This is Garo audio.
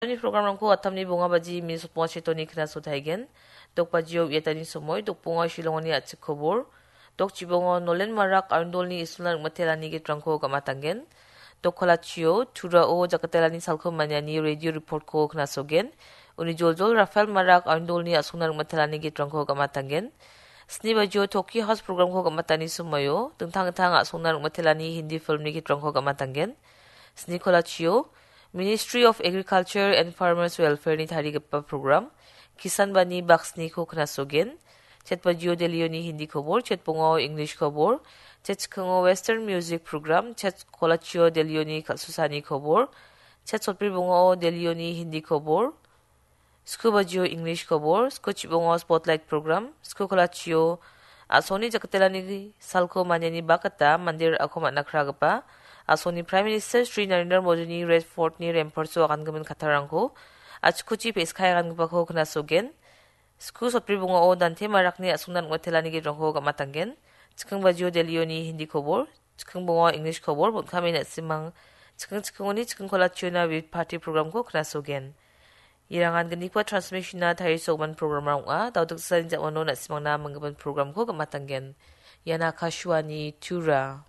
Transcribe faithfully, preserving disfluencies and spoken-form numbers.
Ni programrangko atamni bonga baji mini sotbonga chetoni knaso taigen. Dok bajio uiatani somoi, dok bonga Shillongoni a·chik kobor. Dok chibongo Nolen Marak Arundolni isolna ringmatelani gitrangko gam·atanggen. Dok kolachio, Turao jakatelani salko maniani radio reportko knasogen. Uni joljol Rafael Marak Arundolni a·songna ringmatelani gitrangko gam·atanggen. Sni bajio Toki House programko gam·atani somoio, dingtang dingtang a·songna ringmatelani Hindi filmni gitrangko gam·atanggen. Sni kolachio, Ministry of Agriculture and Farmers Welfare-ni tarigipa program, Kisan Bani baksniko knasogen. Chet bajio Delhioni Hindi kobor, chet bongao English kobor, chet chikingo Western music program, chet kolachio Delhioni kal·susani kobor, chet sotbri bongao Delhioni Hindi kobor, sku bajio English kobor, sku chibongo Spotlight program, sku kolachio a·songni jakatelani salko maniani bakata mande ra·ako man·a kragipa a·songni Prime Minister Shri Narendra Modini Red Fortni ramparts-o agangimin kattarangko a·chikuchi pe·skae agangipako knasogen. Sku sotbri bongao Dante Marakni a·songna ringmatelani gitrangko gam·atanggen. Chiking bajio Delhioni Hindi kobor, chiking bongao English kobor, bon·kame na·simang chiking chikingoni chiking kolachiona Vividh Bharati programko knasogen. Irangan gnipa transmissionna tarisogimin programrang ong·a. Daudiksani ja·mano na·simangna manggimin programko gam·atanggen. Ian Akashvani Tura.